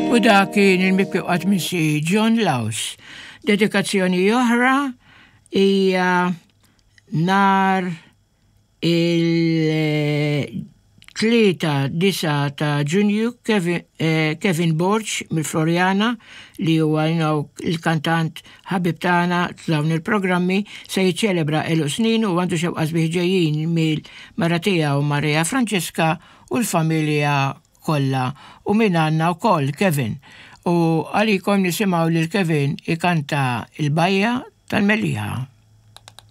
U dak kien il-mibki qatt missi John Laus. Dedikazzjoni oħra hija nar il-3 9 ta' Ġunju Kevin Borg mill-Floriana li huwa l-kantant ħabib tagħna f'dawn il-programmi se jiċċelebra għeluq snin u għandu xewqa sbieħ ġejjin mill-mara tiegħu Maria Francesca u l-familja kollha u minn għandna wkoll Kevin. U għalikom nisimgħu lil Kevin ikanta il-Bajja tal-Mellieħa.